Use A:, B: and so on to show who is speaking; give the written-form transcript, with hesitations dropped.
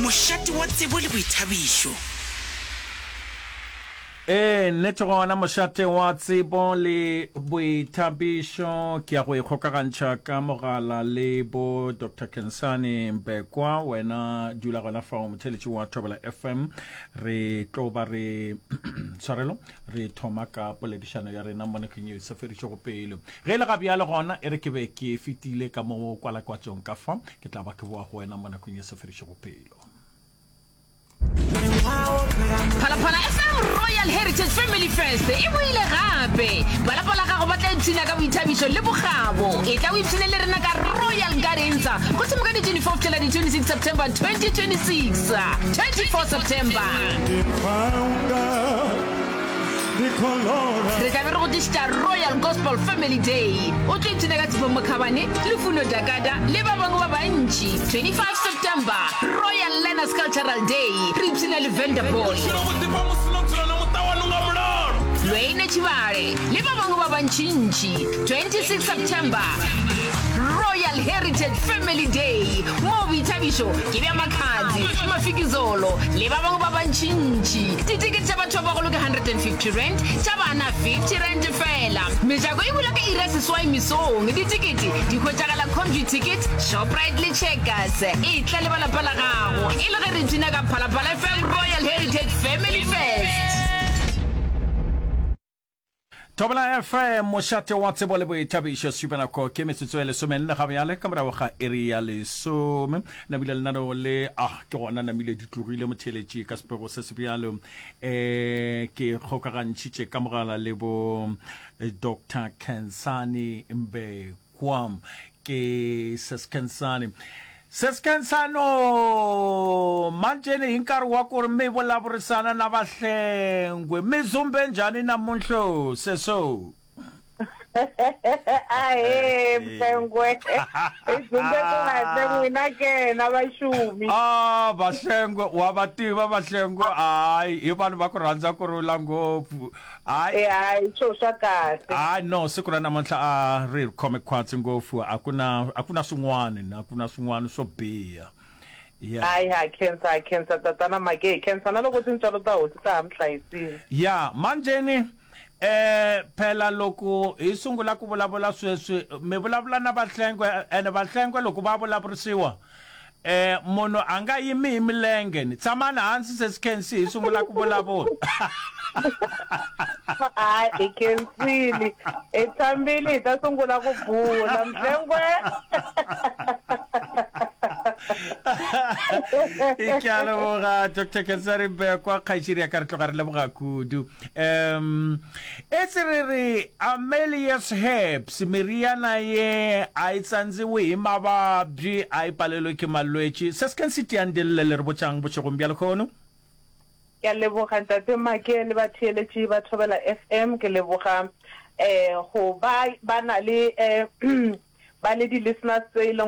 A: Mošate wa tsebo le boithabišo.
B: Ee, nnete gona mošate wa tsebo le boithabišo. Ke ya go ikgokagantšha ka mogala le bo Doctor Khensani Mbekwa. Wena dula gona fao motheeletši wa Thobela FM. Re tlo ba re tshwarelo re thoma ka poledišano ya rena mo nakong yeo e sa fedišego pelo. Ge e le ga bjale gona e re ke be ke fetile ka mo kwalakwatšong ka fa, ke tla ba ke boa go wena mo nakong ye sa fedišego pelo.
C: Phalaphala FM Royal Heritage Family Fest e boile gape! Ba lapa la gago ba tla ipshina ka boithabišo le bokgabo. Etla o ipshine le rena ka Royal Gardens go thoma ka di 24 go fihlela di 26 September 2026. 24 September. Re tla be re go tlišetša Royal Gospel Family Day. O tlo ipshina ka Tshepo Mokhabane, Lufuno Dakada le ba bangwe ba bantši. 25 September, Royal Learners Cultural Day, re ipshina le Venderboy. Lweine Tshibale le ba bangwe ba bantšintši. 26 September, Royal Heritage Family Day, moo boithabišo ke bja Makhadzi, Mafikizolo le ba bangwe ba bantšintši. Ditekete tša batho ba bagolo ke R150, tša bana R50 feela. Mejako e bula ka iri ya seswai mesong. Ditekete di hwetšagala Computicket, Shoprite le Checkers. Etla le ba lapa la gago e le ge re ipshina ka Phalaphala FM Royal Heritage Family Fest.
B: Thobela FM, mošate wa tsebo le boithabišo. Šupanako ke metsotso e lesomenne ga bjale ka morago ga iri ya lesome. Namile lenaneo le ah ke gona namile di tlogile motheeletši ka sepego se se bjalo. Eh ke kgokagantšhitše ka mogala le bo Dr. Khensani Mbekwa. Ke Seskhensani. Seskhensano, manjene hi nkarhi wa ku ri mi vulavurisana na Vahlengwe, mi zumbe njhani namunhlo, seso?
D: Ahee, Mhlengwe. Hi zumbe kahle, n'wina ke, na vaxumi?
B: Ah, Vahlengwe, wa va tiva Vahlengwe, hayi, i vanhu va ku rhandza ku rhula ngopfu. Hayi.
D: E hayi swo swa kahle.
B: Hayi no siku ra namuntlha a ri hi khome khwatsi ngopfu a ku na a ku na swin'wana a ku na swin'wana swo biha.
D: Yeah. Hayi ha khensa ha khensa tatana Make hi khensa na loko tintswalo ta hosi ta ha mi hlayisile.
B: Ya manjeni eh phela loko hi sungula ku vulavula sweswi mi vulavula na Vahlengwe ene Vahlengwe loko va vulavurisiwa Eh, munhu a nga yimi hi milenge ni. Tshamani hansi sesi Khensi hi sungula ku vulavula.
D: Hayi hi khensile. Hi tshambile hi ta sungula ku bula Mhlengwe.
B: Ke a leboga Dr. Khensani Mbekwa kgaetšedi ya ka re tloga re leboga kudu. Um Etse re re Amelius Herbs meriana ye a e tsandziwe hi mavabyi, a e palelwe ke malwetši. Se se keng se tiang dille le re botšang bošegong bja lekhono?
D: Ke a leboga Ntate Make le batheeletši ba Thobela FM. Ke leboga um go ba ba na le um ba le di-listeners tse e leng.